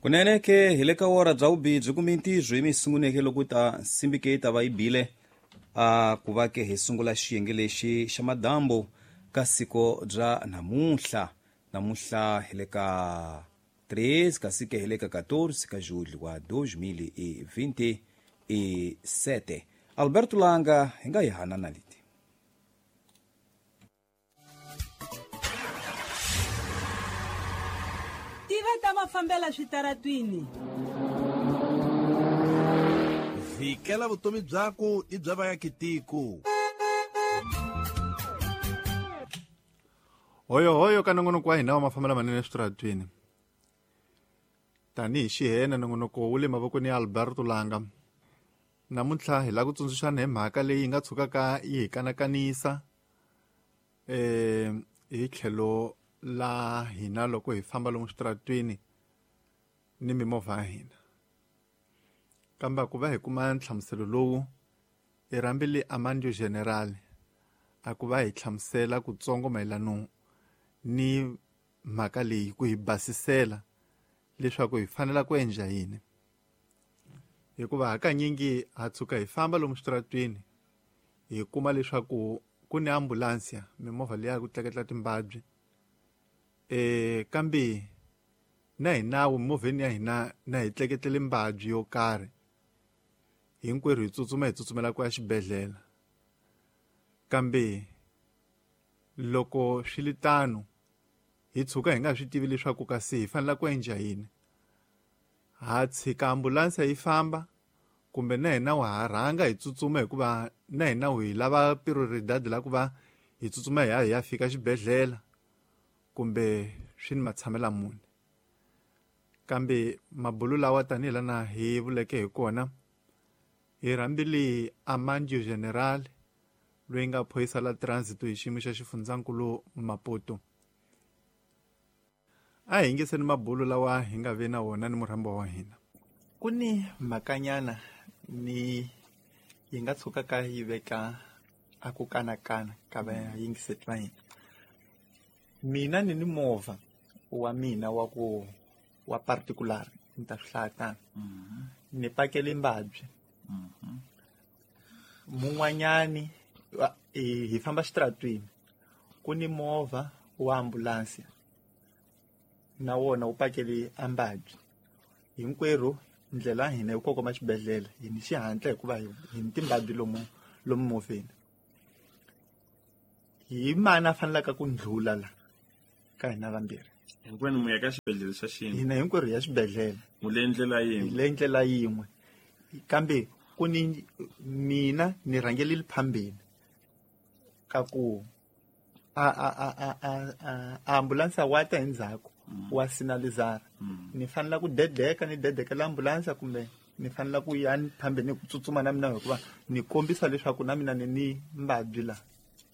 Kunene ke hi le ka wora bya vubibyi kumbe ntirho yi mi sunguneke loko ta nsimbi ke yi ta va yi bile a ku va ke hi sungula xiyenge lexi xa madambu ka siko bya namuntlha. Namuntlha hi le ka 3 kasi ke hi le ka 14 ka julho wa 2027. Alberto Langa hi nga yi hanana leti. Tiva ta mafambela switaratwini. Vhikela vutomi byaku ni bya vaakitiko. Hoyohoyo ka nongonoko wa hina wa mafambelo manene eswitaratwini. Tanihi xihena nongonoko wu le mavokweni ya Alberto Langa. Namuntlha hi lava ku tsundzuxana hi mhaka leyi nga tshukaka yi hi kanakanisa hi tlhelo la hina loko hi famba lomu switaratwini ni mimovha ya hina. Kambe ku va hi kuma nhlamuselo lowu hi rhambile Amandio General a ku va hi hlamusela kutsongo mayelano ni mhaka leyi ku hi basisela leswaku hi fanela ku endla yini. Hikuva hakanyingi ha tshuka hi famba lomu switaratwini hi kuma leswaku ku ni ambulansi mimovha leyi ya ku tleketla timbabyi kambe na hi nawu mimovheni ya hina na hi tleketlele mbabyi yo karhi hinkwerhu hi tsutsuma hi tsutsumela ku ya xibedhlele. Kambe loko swi li tano hi tshuka hi nga swi tivi leswaku kasi hi fanele ku endla yini. Ha tshika ambulansi yi famba kumbe na hina wa ha rhanga hi tsutsuma hikuva na hina hi lava prioridad la ku va hi tsutsuma hi ya hi ya fika xibedhlele kumbe swi ni matshamela muni. Kambe mabulu lawa tanihi lana hi vuleke hi kona hi rhambile Amandio General loyi nga phorisa la transit hi xiyimo xa xifundzankulu Maputo. A hi yingiseni mabulu lawa hi nga ve na wona ni murhambo wa hina. Ku ni mhakanyana ni yi nga tshukaka yi veka a ku kanakana ka vayingiseti va hina. Mina ni ni movha wa mina wa ku wa particular ni ta swi hlaya tano. Ni pakele mbabyi. Mun'wanyani hi famba xitaratwini ku ni movha wa ambulansi na wona wu pakele ambabyi. Hinkwerhu ndlela ya hina yi kongoma xibedhlele hi ni xihatla hikuva hi ni timbabyi lomu lomu movheni. Hi mani a fanelaka ku ndlhula la ka hina vambirhi? Hinkwenu mu ya ka xibedhlele xa xin'we. Hina hinkwerhu hi ya xibedhlele. Mu le ndlela yin'we. Hi le ndlela yin'we. Kambe ku ni mina ni rhangelile phambeni ka ku a ambulansi wa ta endzhaku wa sinalizara. Ni fanela ku dedeka ni dedekela ambulansi kumbe ni fanela ku ya phambeni ku tsutsuma na mina hikuva ni kombisa leswaku na mina ni ni mbabyi la.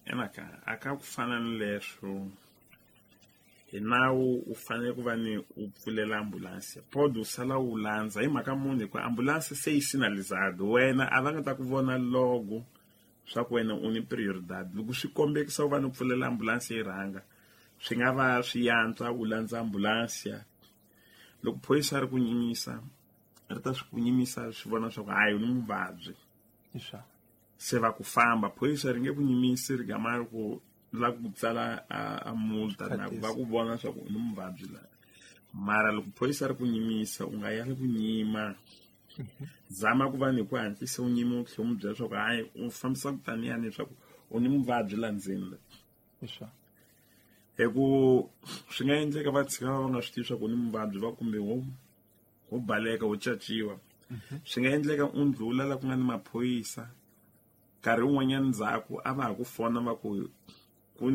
Emaka a ka ku fana ni leswo hi nawu u fanele ku va ni u pfulela ambulansi pod u sala u landza hi mhaka munhu hikuva ambulansi se yi sinalizado wena a va nga ta ku vona logo swa ku wena u ni prioridad. Loko swi kombekisa u va ni pfulela ambulansi yi rhanga swi nga va swi yantswa u landza ambulansi. Loko phorisa ri ku nyimisa ri ta swi ku nyimisa swi vona swa ku hayi u ni muvabyi se va ku famba. Phorisa ri nge ku nyimisi ri gama ri ku la ku tsala a multa na va ku vona swa ku u ni muvabyi la. Mara loko phorisa ri ku nyimisa u nga yali ku nyima. Zama ku va ni ku hatlisa u nyima u tlhela u n'wi byela leswaku hayi u fambisa ku taniyani leswaku u ni muvabyi la ndzeni la. Hi ku swi nga endleka va tshika va nga swi tivi swa ku u ni muvabyi va kumbe wo baleka wo caciwa. Swi nga endleka u ndlhula la ku nga ni maphorisa nkarhi wun'wanyana ndzhaku a va ha ku fona va ku ku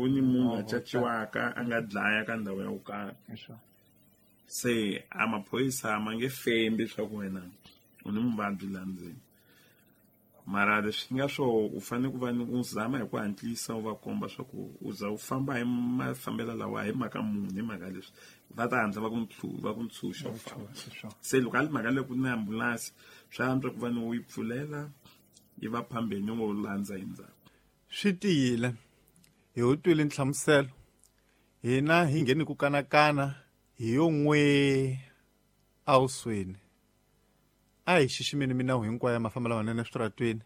ni munhu a caciwaka a nga dlaya ka ndhawu ya ku karhi. Se a maphorisa ma nge fembi swa ku wena u ni muvabyi la ndzeni. Mara leswi nga swo u fanele ku va ni u zama hi ku hatlisa u va komba swa ku u za u famba hi mafambelo lawa hi mhaka munhu hi mhaka leswi va ta hatla va ku va ku ntshunxa u famba. Se loko a li mhaka leyi ku ni ambulansi swi antswa ku va ni u yi pfulela yi va phambeni u landza hi ndzhaku. Swi tiyile hi wu twile nhlamuselo hina hi ngheni ku kanakana Hi yo n'we awusweni. A hi xiximeni minawu hinkwayo ya mafambelo lamanene eswitaratweni,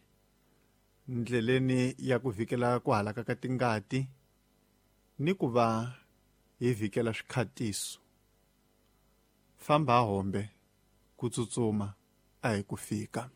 ndleleni ya ku vhikela ku halaka ka tingati ni ku va hi vhikela swikhatiso. Famba hombe, ku tsutsuma a hi ku fika.